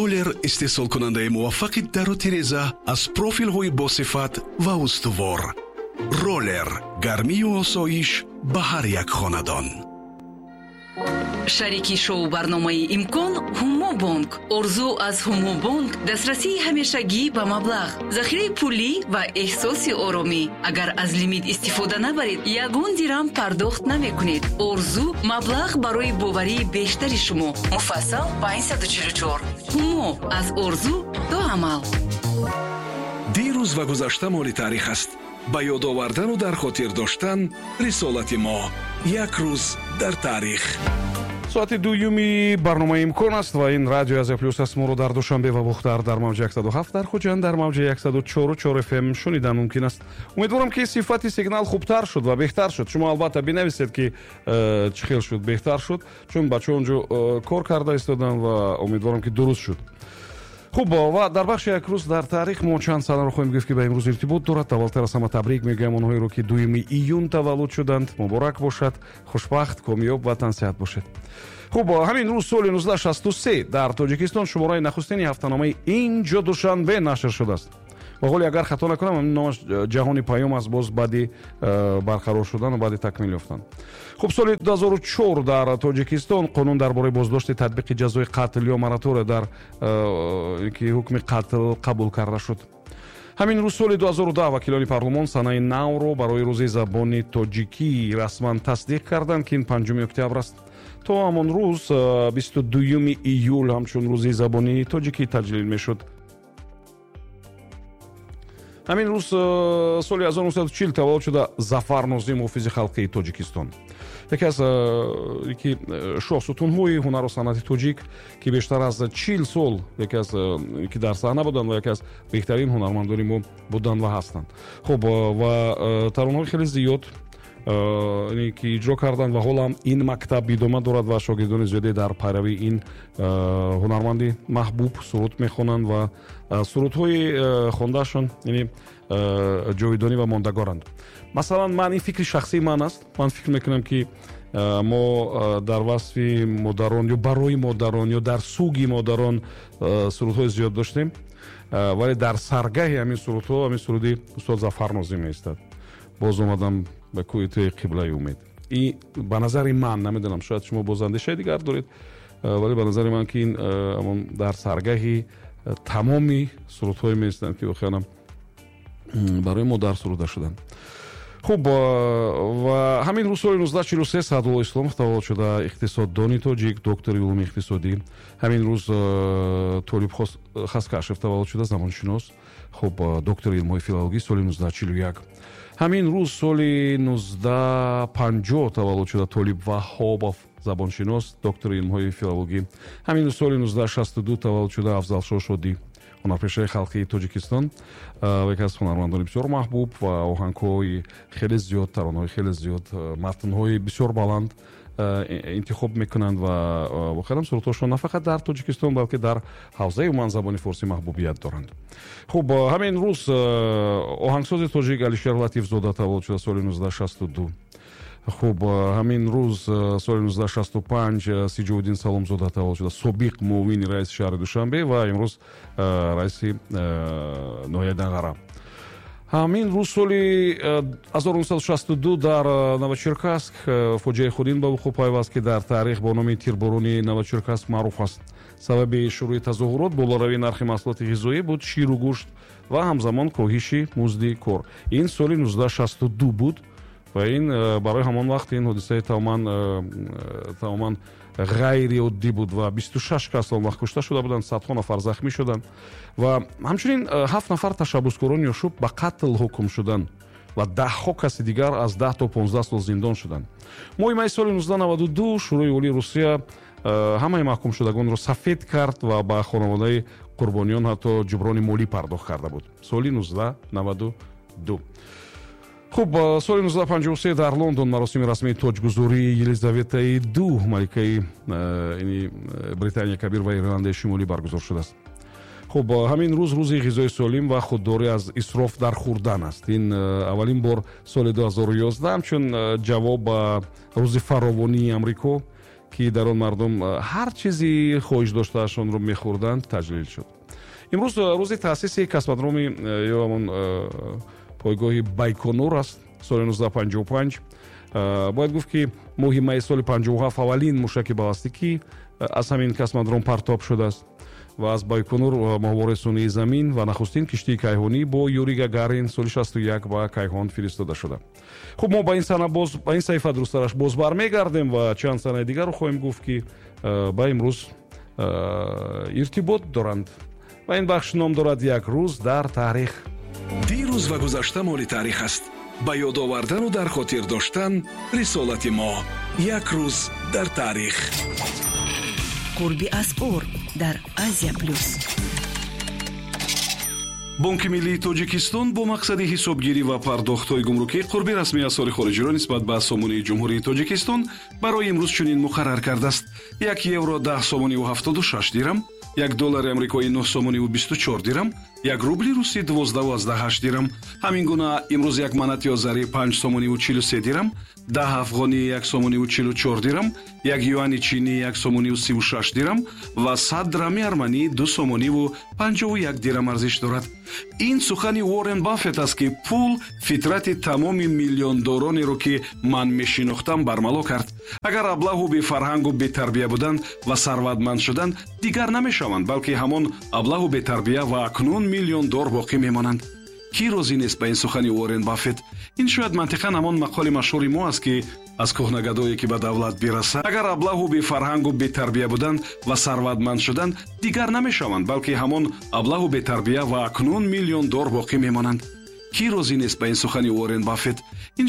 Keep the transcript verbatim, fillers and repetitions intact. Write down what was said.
Роллер истеҳсолкунандаи муваффақи дару тиреза аз профилҳои босифат ва устувор. Роллер гармию осоиш ба ҳар як хонадон. Шарики шоу барномаи «Имкон» Ҳумобонк. Орзу аз Ҳумобонк дастрасии ҳамешагӣ ба маблағ, захираи пулӣ ва эҳсоси оромӣ. Агар аз лимит истифода набаред, ягон дирам пардохт намекунед. Орзу маблағ барои боварии бештари шумо. Муфассал панҷсаду чилу чор. Ҳумо аз орзу то амал. Дирӯз ва гузашта моли таърих аст. Ба ёд овардану дар хотир доштан рисолати мо. Як рӯз дар таърих. Соати дуюми барномаи «Имкон» аст ва ин Радио Азия Плюс аст. Моро дар Душанбе ва Бохтар дар мавҷи яксаду ҳафт, дар Хуҷанд дар мавҷи яксаду чору чор F M шунидан мумкин аст. Умедворам, ки сифати сигнал хубтар шуд ва беҳтар шуд. Шумо албатта бинависед, ки э, чӣ хел шуд, беҳтар шуд, чун бачаҳо онҷо э, кор карда истоданд ва умедворам, ки дуруст шуд. Хуб, ва дар бахши «Як рӯз дар таърих» мо чанд санаро хоҳем гуфт, ки ба имрӯз иртибот дорад. Аввалтар аз ҳама табрик мегӯям онҳоеро, ки дуюми июн таваллуд шуданд. Муборак бошад, хушбахт, комёб ва тансиҳат бошед. Хуб, ҳамин рӯз соли нуздаҳ шасту се дар Тоҷикистон шумораи нахустини ҳафтаномаи «Инҷо Душанбе» нашр шудааст. Ва ҳоле, агар хато накунам, номаш «Ҷаҳони Паём» аст, боз баъди э, барқарор шудан ва баъди такмил ёфтан. Хуб, соли ду ҳазору чор дар Тоҷикистон қонун дар бораи боздошти татбиқи ҷазои қатл ё моратория дар э, ки ҳукми қатл қабул карда шуд. Ҳамин рӯз соли ду ҳазору даҳ вакилони парлумон санаи навро барои Рӯзи забони тоҷикӣ расман тасдиқ карданд, ки ин панҷуми октябр аст. То ҳамон рӯз э, бисту дуюми июл ҳамчун Рӯзи забони тоҷикӣ таҷлил мешуд. Ҳамин рӯз э, соли ҳазору нӯҳсаду чил таваллуд шуда Зафар Нозим, ҳофизи халқии Тоҷикистон, яке аз э, ки э, шоҳсутунҳои ҳунару санъати тоҷик, ки бештар аз чил сол яке аз ки дар саҳна буданд ва яке аз беҳтарин ҳунармандони мо буданд ва ҳастанд. Хуб, ва таронаҳои хеле зиёд ки иҷро карданд ва ҳоло ҳам ин мактаб идома дорад ва шогирдони зиёде дар пайравии ин ҳунарманди маҳбуб суруд мехонанд ва сурудҳои хондаашон, яъне, ҷовидонӣ ва мондагоранд. Масалан, ман, ин фикри шахсии ман аст, ман фикр мекунам, ки мо дар васфи модарон ё барои модарон ё дар суги модарон сурудҳои зиёд доштем, вале дар саргаҳи ҳамин сурудҳо ҳамин суруди устод Зафар Нозим меистад: «Боз омадам ба кӯи туи, қиблаи умед». И ба назари ман, намедонам, шояд шумо боз андешаи дигар доред, вале ба назари ман, ки ин ҳамон дар саргаҳи тамоми сурудҳое меистанд, ки воқеан барои модар суруда шуданд. Хуб, ва ҳамин рӯз соли нуздаҳ чилу се Саъдулло Исломов таваллуд шуда, иқтисоддони тоҷик, доктори улуми иқтисодӣ. Ҳамин рӯз Толиб Хаскашев таваллуд шуда, замоншинос, хуб, доктори илмҳои филологӣ, соли нуздаҳ чилу як. Ҳамин рӯз соли нуздаҳ панҷоҳ таваллуд шуда Толиб Ваҳҳобов, забоншинос, доктори илмҳои филологӣ. Ҳамин рӯз соли нуздаҳ шасту ду таваллуд шуда Афзалшоҳ Шодӣ, ҳунарпешаи халқии Тоҷикистон, яке аз ҳунармандони бисёр маҳбуб ва оҳангҳои хеле зиёд, таронаҳои хеле зиёд, матнҳои бисёр баланд интихоб мекунанд ва воқеан сурудҳошон на фақат дар Тоҷикистон, балки дар ҳавзаи умуман забони форсӣ маҳбубият доранд. Хуб, ҳамин рӯз оҳангсози тоҷик Алишер Латифзода таваллуд шуда соли нуздаҳ шасту ду. Хуб, ҳамин рӯз соли нуздаҳ шасту панҷ Сиҷовуддин Саломзода таваллуд шуда, собиқ муовини раиси шаҳри Душанбе ва имрӯз раиси ноҳияи Данғара. Ҳамин рӯз соли ҳазору нӯҳсаду шасту ду дар Новочеркасск фоҷиаи хунин ба вуқӯъ пайваст, ки дар таърих бо номи тирборони Новочеркасск маъруф аст. Сабаби шурӯи тазоҳурот болоравии нархи маҳсулоти ғизоӣ буд, ширу гӯшт, ва ҳамзамон коҳиши музди кор. Ин соли нуздаҳ шасту ду буд ва ин барои ҳамон вақт ин ҳодисаи тамоман тамоман ғайриоддӣ буд ва бисту шаш кас он вақт кушта шуда буданд, садҳо нафар захмӣ шуданд ва ҳамчунин ҳафт нафар ташаббускорони ошӯб ба қатл ҳукм шуданд ва даҳҳо каси дигар аз даҳ то понздаҳ сол зиндон шуданд. Моҳи майи соли нуздаҳ наваду ду Шӯрои Олии Русия ҳамаи маҳкумшудагонро сафед кард ва ба хонаводаи қурбониён ҳатто ҷуброни молӣ пардохт карда буд. Соли нуздаҳ наваду ду. Хуб, соли нуздаҳ панҷоҳу се дар Лондон маросими расмии тоҷгузории Елизаветаи ду, маликаи Британия Кабир ва Ирландияи Шимолӣ, баргузор шудааст. Хуб, ҳамин рӯз рӯзи ғизои солим ва худдорӣ аз исроф дар хӯрдан аст. Ин аввалин бор соли ду ҳазору ёздаҳ ҳамчун ҷавоб ба Рӯзи фаровонии Амрико, Ки дар он мардум ҳар чизи хоҳиш доштаашонро мехӯрданд, таҷлил шуд. Имрӯз рӯзи таъсиси космодроми ё ҳамон пойгоҳи Байконур аст, соли нуздаҳ панҷоҳу панҷ. Бояд гуфт, ки моҳи майи соли панҷоҳу ҳафт аввалин мушаки баллистикӣ аз ҳамин космодром партоб шудааст ва аз Байконур моҳвораи сунъии Замин ва нахустин киштии кайҳонӣ бо Юрий Гагарин соли шасту як ба кайҳон фиристода шуда. Хуб, мо ба ин сана боз, ба ин саҳифа, дурусттараш, боз бармегардем ва чанд санаи дигарро хоҳем гуфт, ки ба имрӯз иртибот доранд. Ва ин бахш ном дорад «Як рӯз дар таърих». Дирӯз ва гузашта моли таърих аст. Ба ёд овардану дар хотир доштан рисолати мо. «Як рӯз дар таърих». Қурби асъор дар Азия Плюс. Бонки миллии Тоҷикистон бо мақсади ҳисобгирӣ ва пардохтҳои гумрукӣ қурби расмии асъори хориҷиро нисбат ба сомонии Ҷумҳурии Тоҷикистон барои имрӯз чунин муқаррар кардааст: як евро даҳ сомониву ҳафтоду шаш дирам, як доллари амрикоӣ нӯҳ сомониву бисту чор дирам, як рубли русӣ дувоздаҳу аздаҳ ҳашт дирам. Ҳамин гуна имрӯз як манати озарӣ панҷ сомониву чилу се дирам, даҳ афғонӣ як сомониву чилу чор дирам, як юани чинӣ як сомониву сиву шаш дирам ва сад драми арманӣ ду сомониву панҷоҳу як дирам арзиш дорад. Ин сухани Уоррен Баффет аст, ки пул фитрати тамоми миллиондоронеро, ки ман мешинохтам, бармало кард. Агар аблаҳу бефарҳангу бетарбия буданд ва сарватманд шуданд, дигар намешаванд, балки ҳамон аблаҳу бетарбия ва акнун миллиондор боқӣ мемонанд. Кӣ розӣ нест ба ин сухани Уоррен Баффет? Ин шояд мантиқан ҳамон мақоли машҳури мо аст, ки аз кӯҳнагадое ки ба давлат бирасад. Агар аблаҳу бефарҳангу бетарбия буданд ва сарватманд шуданд, дигар намешаванд, балки ҳамон аблаҳу бетарбия ва акнун миллиондор боқӣ мемонанд. Кӣ розӣ нест ба ин сухани Уоррен Баффет? Ин